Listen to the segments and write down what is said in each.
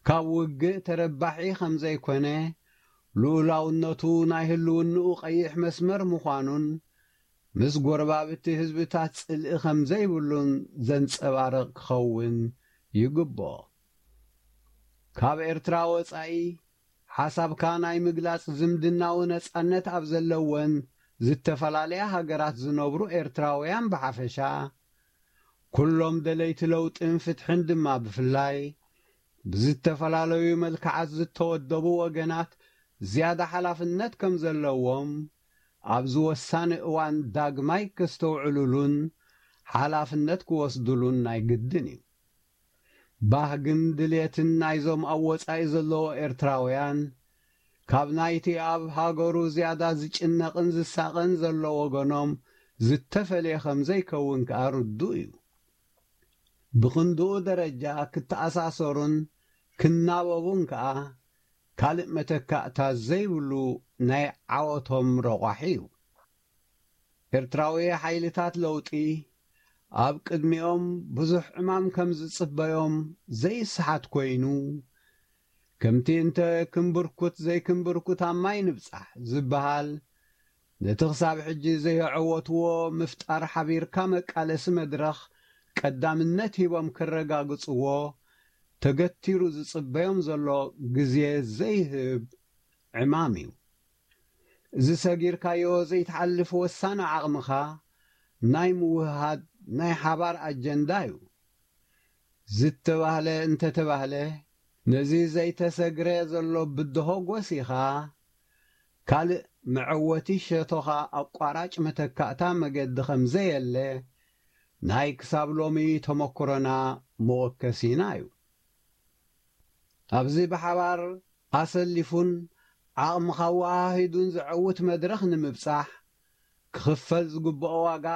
ካብ ውግእ ተረባሒ ከም ዘይኮነ፣ ልኡላውነቱ ናይ ህልውንኡ ቀይሕ መስመር ምዃኑን ምስ ጎረባብቲ ህዝብታት ጽልኢ ከም ዘይብሉን ዘንጸባርቕ ክኸውን ይግብኦ። ካብ ኤርትራ ወጻኢ ሓሳብካ ናይ ምግላጽ ዝምድናዊ ነጻነት ኣብ ዘለወን ዝተፈላለያ ሃገራት ዝነብሩ ኤርትራውያን ብሓፈሻ፣ ኩሎም ደለይቲ ለውጥን ፍትሕን ድማ ብፍላይ፣ ብዝተፈላለዩ መልክዓት ዝተወደቡ ወገናት ዝያዳ ሓላፍነት ከም ዘለዎም ኣብዚ ወሳኒ እዋን ዳግማይ ከስተውዕሉሉን ሓላፍነት ክወስዱሉን ናይ ግድን እዩ። ባህግን ድልየትን ናይዞም ኣብ ወጻኢ ዘለዉ ኤርትራውያን፣ ካብ ናይቲ ኣብ ሃገሩ ዝያዳ ዝጭነቕን ዝሳቐን ዘሎ ወገኖም ዝተፈልየ ከም ዘይከውን ከኣ ርዱእ እዩ። ብኽንድኡ ደረጃ ክተኣሳሰሩን ክናበቡን ከኣ ካልእ መተካእታ ዘይብሉ ናይ ዓወቶም ረቋሒ እዩ። ኤርትራዊ ሓይልታት ለውጢ ኣብ ቅድሚኦም ብዙሕ ዕማም ከም ዝጽበዮም ዘይስሓት ኮይኑ፣ ከምቲ እንተ ክንብርኩት ዘይክንብርኩት ኣብ ማይ ንብጻሕ ዝበሃል፣ ነቲ ክሳብ ሕጂ ዘየዐወትዎ ምፍጣር ሓቢርካ መቃለሲ መድረኽ ቀዳምነት ሂቦም ክረጋግጽዎ ተገቲሩ ዝጽበዮም ዘሎ ግዜ ዘይህብ ዕማም እዩ። እዚ ሰጊርካዮ ዘይትሓልፍ ወሳኒ ዓቕምኻ ናይ ምውህሃድ ናይ ሓባር ኣጀንዳ እዩ። ዝተባህለ እንተተባህለ፣ ነዚ ዘይተሰግረ ዘሎ ብድሆ ጎሲኻ፣ ካልእ መዐወቲ ሸቶኻ ኣቋራጭ መተካእታ መገዲ ከም ዘየለ ናይ ክሳብ ሎሚ ተመክሮና መወከሲና እዩ። ኣብዚ ብሓባር ኣሰሊፉን ዓቕምኻ ኣወሃሂዱን ዘዐውት መድረኽ ንምብጻሕ፣ ክኽፈል ዝግብኦ ዋጋ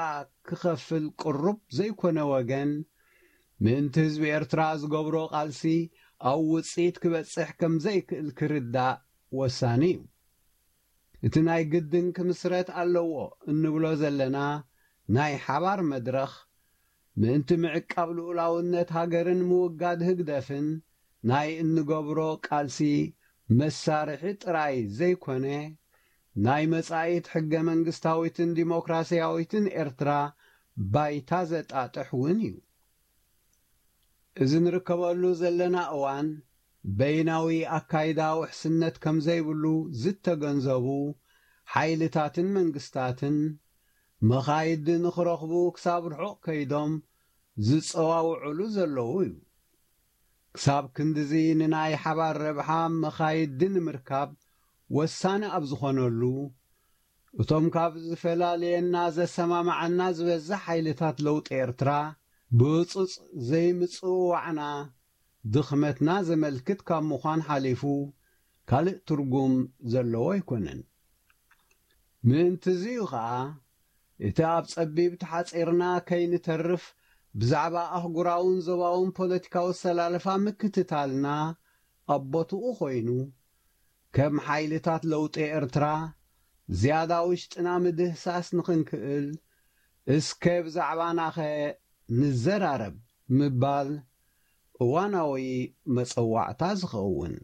ክኸፍል ቅሩብ ዘይኮነ ወገን፣ ምእንቲ ህዝቢ ኤርትራ ዝገብሮ ቃልሲ ኣብ ውጽኢት ክበጽሕ ከም ዘይክእል ክርዳእ ወሳኒ እዩ። እቲ ናይ ግድን ክምስረት ኣለዎ እንብሎ ዘለና ናይ ሓባር መድረኽ፣ ምእንቲ ምዕቃብ ልኡላውነት ሃገርን ምውጋድ ህግደፍን ናይ እንገብሮ ቃልሲ መሳርሒ ጥራይ ዘይኮነ፣ ናይ መጻኢት ሕገ መንግስታዊትን ዲሞክራስያዊትን ኤርትራ ባይታ ዘጣጥሕ እውን እዩ። እዚ ንርከበሉ ዘለና እዋን፣ በይናዊ ኣካይዳ ውሕስነት ከም ዘይብሉ ዝተገንዘቡ ሓይልታትን መንግስታትን፣ መኻይዲ ንኽረኽቡ ክሳብ ርሑቕ ከይዶም ዝጸዋውዑሉ ዘለዉ እዩ። ክሳብ ክንድዚ ንናይ ሓባር ረብሓ መኻይዲ ንምርካብ ወሳኒ ኣብ ዝኾነሉ፣ እቶም ካብ ዝፈላልየና ዘሰማምዓና ዝበዝሕ ሓይልታት ለውጢ ኤርትራ፣ ብህጹጽ ዘይምጽውዋዕና ድኽመትና ዘመልክት ካብ ምዃን ሓሊፉ ካልእ ትርጉም ዘለዎ ኣይኮነን። ምእንቲ እዚ እዩ ኸኣ፣ እቲ ኣብ ጸቢብ ተሓጺርና ከይንተርፍ ብዛዕባ ኣህጉራውን ዞባውን ፖለቲካዊ ኣሰላልፋ ምክትታልና ኣብ ቦትኡ ኮይኑ፣ ከም ሓይልታት ለውጢ ኤርትራ ዝያዳ ውሽጥና ምድህሳስ ንኽንክእል፣ እስከ ብዛዕባናኸ ንዘራረብ ምባል እዋናዊ መጸዋዕታ ዝኸውን።